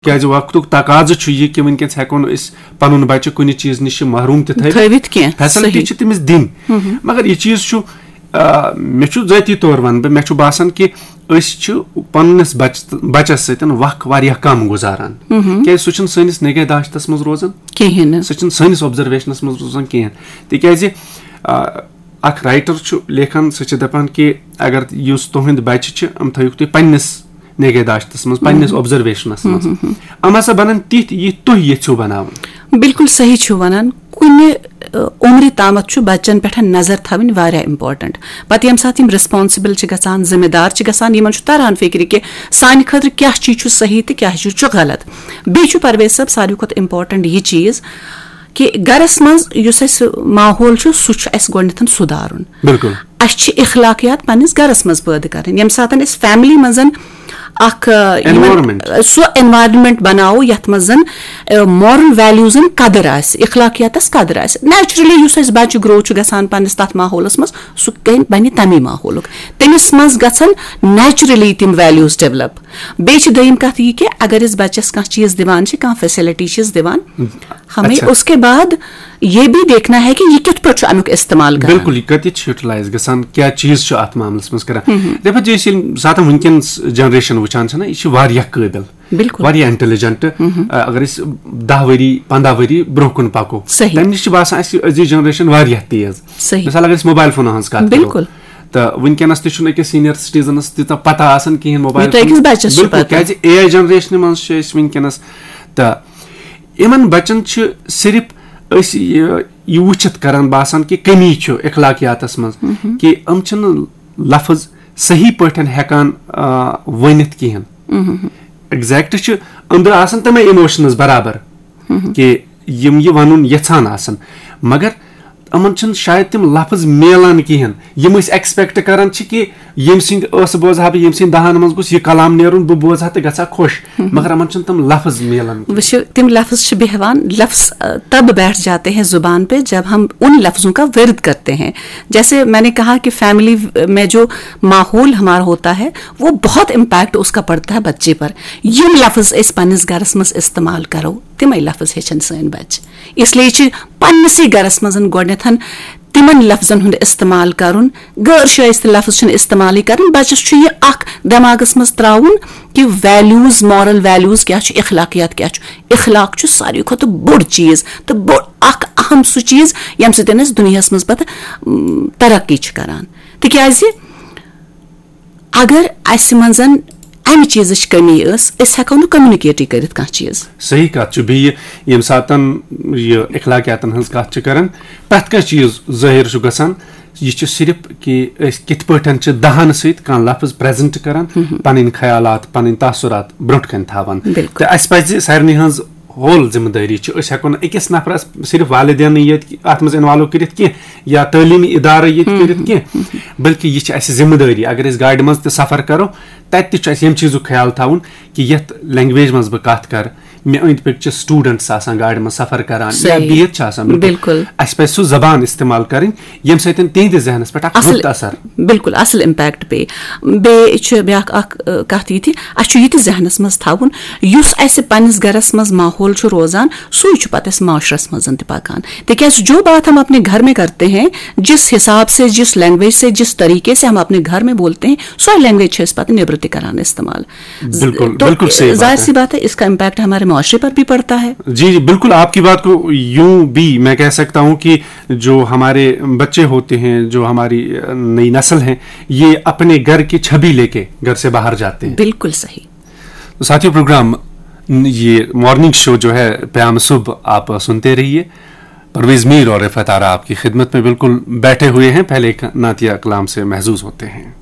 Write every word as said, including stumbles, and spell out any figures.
کیازِ وقتُک تقاضہٕ چھُ یہِ کہِ وٕنکیٚس ہٮ۪کو نہٕ أسۍ پَنُن بَچہِ کُنہِ چیٖز نِش محروٗم تہِ تھٲوِتھ۔ تھٲوِتھ کینٛہہ، فیسلٹی صحیح۔ چھِ تٔمِس دِنۍ۔ مگر یہِ چیٖز چھُ، آ، مےٚ چھُ ذٲتی طور وَنہٕ بہٕ، مےٚ چھُ باسان کہِ أسۍ چھِ پننِس بچ-، بَچَس سۭتۍ وقت واریاہ کم گُزاران۔ کیازِ سُہ چھُنہٕ سٲنِس نگہداشتَس منٛز روزان۔ کِہیٖنۍ نہٕ۔ سُہ چھُنہٕ سٲنِس آبزرویشنَس منٛز روزان کِہیٖنۍ۔ تِکیازِ، آ، اکھ رائٹر چھُ لیکھان، سُہ چھُ دَپان کہِ اگر یُس تُہُنٛد بَچہِ چھِ، یِم تھٲیِو تُہۍ پننِس نگہداشتَس منٛز، پننِس آبزرویشنَس منٛز۔ یِم ہسا بَنَن تِتھۍ، یِتھۍ تُہۍ یژھِو بَناوُن۔ بِلکُل صحیح چھِو وَنان۔ کُنہِ، ٲ، عُمرِ تامَتھ چھُ بَچَن پٮ۪ٹھ نظر تھاوٕنۍ واریاہ important۔ پَتہٕ ییٚمہِ ساتہٕ یِم responsible چھِ گژھان، ذمہٕ دار چھِ گژھان، یِمَن چھُ تَران فِکرِ کہِ سانہِ خٲطرٕ کیٛاہ چیٖز چھُ صحیح تہٕ کیٛاہ چیٖز چھُ غلط۔ بیٚیہِ چھُ پرویز صٲب ساروی کھۄتہٕ important یہِ چیٖز کہِ گَرَس منٛز یُس اَسہِ ماحول چھُ، سُہ چھُ اَسہِ گۄڈٕنٮ۪تھ سُدھارُن۔ بِلکُل۔ اَسہِ چھِ اخلاقیات پننِس گرس منٛز پٲدٕ کرٕنۍ۔ ییٚمہِ ساتہٕ أسۍ family منٛز اکھ، آ، یِمن، Environment۔ سُہ environment بناوو یتھ منٛز زن، آ، moral values قدر آسہِ، اخلاقیاتس قدر آسہِ، naturally یُس اَسہِ بچہِ grow چھُ گژھان پننِس تتھ ماحولس منٛز، سُہ کٔمۍ بنہِ تمی ماحولُک۔ تٔمِس منٛز گژھن naturally تِم values develop۔ بیٚیہِ چھِ دوٚیِم کتھ یہِ کہِ اگر أسۍ بچس کانٛہہ چیٖز دِوان چھِ، کانٛہہ facility چھِس دِوان، ہمیں اچھا۔ اس کے بعد یہ بھی دیکھنا ہے کہ یہ کتھ پٲٹھۍ چھُ امیُک استعمال کران۔ بِلکُل، یہِ کَتہِ چھُ یوٹیلائز گژھان، کیٛاہ چیٖز چھُ اَتھ معاملَس منٛز کران؟ دَپان چھِ أسۍ ییٚمہِ ساتہٕ وٕنکیٚنَس generation وٕچھان چھِنہ، یہِ چھِ واریاہ قٲبِل، بِلکُل۔ واریاہ intelligent۔ اگر أسۍ دَہ ؤری، پنٛداہ ؤری برونٛہہ کُن پَکو، صحیح۔ تَمہِ نِش چھِ باسان اَسہِ أزِچ generation واریاہ تیز۔ صحیح۔ مِثال، اگر أسۍ موبایل فونَن ہٕنٛز کَتھ کَرو، بِلکُل۔ تہٕ وٕنکیٚنَس تہِ چھُنہٕ أکِس senior citizenس تیٖژاہ پَتہ آسان کِہیٖنۍ موبایل یوٗتاہ أکِس فون۔ بَچَس چھُ بِلکُل، پَتہ۔ کیٛازِ اے آئی generation منٛز چھِ أسۍ وٕنکیٚنَس، تہٕ یِمَن بَچَن چھِ صرف أسۍ یہِ، یہِ وٕچھِتھ کران باسان کہِ کٔمی چھُ اخلاقیاتَس منٛز، کہِ یِم چھِنہٕ لفظ صحیح پٲٹھۍ ہٮ۪کان، آ، ؤنِتھ کِہیٖنۍ۔ exact چھِ أنٛدرٕ آسان تِمَے emotions برابر، کہِ یِم یہِ وَنُن یَژھان آسَن، مگر یِمَن چھِنہٕ شاید تِم لفظ میلان کِہیٖنۍ، یِم أسۍ expect کران چھِ کہِ ییٚمہِ سٕنٛدِ ٲسہٕ بوزٕ ہا بہٕ، ییٚمہِ سٕنٛدِ دہانہٕ منٛز گوٚژھ یہِ کلام نیرُن، بہٕ بوزٕ ہا تہٕ گژھٕ ہا خۄش۔ مگر یِمَن چھِنہٕ تِم لفظ میلان کِہیٖنۍ۔ وٕچھِو، تِم لفظ چھِ بیٚہوان، لفظ، آ، تب بیٹھ جاتے ہیں زبان پہ جب ہم ان لفظوں کا ورد کرتے ہیں۔ جیسے میں نے کہا کہ family میں جو ماحول ہمارا ہوتا ہے، وہ بہت impact اس کا پڑتا ہے بچے پر۔ یِم لفظ أسۍ پننِس گرس منٛز استعمال کرو، تِمے لفظ ہیٚچھن سٲنۍ بچہِ۔ اس لیے چھِ پننِسٕے گرس منٛز گۄڈٕنیتھ تِمن لفظن ہُنٛد استعمال کرُن۔ غٲر شٲیستہٕ لفظ چھِنہٕ استعمالٕے کرٕنۍ۔ بچس چھُ یہِ اکھ دٮ۪ماغس منٛز تراوُن کہِ values، moral values کیٛاہ چھُ، اخلاقیات کیٛاہ چھُ۔ اخلاق چھُ ساروی کھۄتہٕ بوٚڑ چیٖز تہٕ بوٚڑ اکھ اہم سُہ چیٖز، ییٚمہِ سۭتۍ أسۍ دُنیاہس منٛز پتہٕ، م، ترقی چھِ کران۔ تِکیازِ اگر اسہِ منٛز امہِ چیٖزٕچ کٔمی ٲس، أسۍ ہٮ۪کو نہٕ communicate کٔرِتھ کانٛہہ چیٖز۔ صحیح کتھ چھُ۔ بیٚیہِ ییٚمہِ ساتہٕ یہِ اخلاقیاتن ہٕنٛز کتھ چھِ کران، پرٛٮ۪تھ کانٛہہ چیٖز ظٲہِر چھُ گژھان، یہِ چھُ صرف کہِ أسۍ کِتھ پٲٹھۍ چھِ دہن سۭتۍ کانٛہہ لفظ present کران، پنٕنۍ خیالات، پنٕنۍ تاثرات برونٛٹھ کنہِ تھاوان۔ بِلکُل۔ تہٕ اسہِ پزِ سارنٕے ہٕنٛز whole ذمہٕ دٲری چھِ۔ أسۍ ہٮ۪کو نہٕ أکِس نفرس صرف والدینٕے یٲتۍ کہِ اتھ منٛز involve کٔرِتھ کینٛہہ یا تعلیمی ادارٕ ییٚتہِ کٔرِتھ کینٛہہ، بلکہِ یہِ چھِ اسہِ ذمہٕ دٲری۔ اگر أسۍ گاڑِ منٛز تہِ سفر کرو، تتہِ تہِ چھُ اسہِ ییٚمہِ چیٖزُک خیال تھاوُن کہِ یتھ language منٛز بہٕ کتھ کرٕ، مےٚ أنٛدۍ پٔکۍ چھِ students آسان گاڑِ منٛز سفر کران یا صحیح۔ بِہِتھ چھِ آسان۔ بِلکُل۔ بِلکُل۔ اسہِ پزِ سُہ زبان استعمال کرٕنۍ، ییٚمہِ سۭتۍ تِہنٛدِ ذہنس پٮ۪ٹھ اکھ اصل، رُت اثر۔ بِلکُل اصل impact پیٚیہِ۔ بیٚیہِ چھُ بیٛاکھ اکھ، ٲ، کتھ یہِ تہِ، اسہِ چھُ یہِ تہِ ذہنس منٛز تھاوُن، یُس اسہِ پننِس گرس منٛز ماحول چھُ روزان، سُے چھُ پتہٕ اسہِ معاشرس منٛز تہِ پکان۔ تِکیازِ جو بات ہم اپنے گھر میں کرتے ہیں، جس حساب سے، جس language سے، جس طریقے سے ہم اپنے گھر میں بولتے ہیں، سۄے language چھِ أسۍ پتہٕ نیٚبرٕ تہِ کران استعمال۔ بِلکُل، تو بِلکُل صحیح بات ظاہر ہے۔ سی بات ہے، اس کا impact ہمارے معاشرے پر بھی پڑتا ہے۔ جی، جی، بالکل، آپ کی بات کو यूं भी मैं कह सकता हूँ कि जो हमारे बच्चे होते हैं, जो हमारी, अ, नई नस्ल है, ये अपने घर की छवि लेके घर से बाहर जाते हैं। बिल्कुल सही। तो साथियों, प्रोग्राम, ये मॉर्निंग शो जो है प्याम सुब, आप सुनते रहिए। परवेज मीर और रिफत आरा आपकी खिदमत में बिल्कुल बैठे हुए हैं। पहले एक नातिया कलाम से महजूज होते हैं।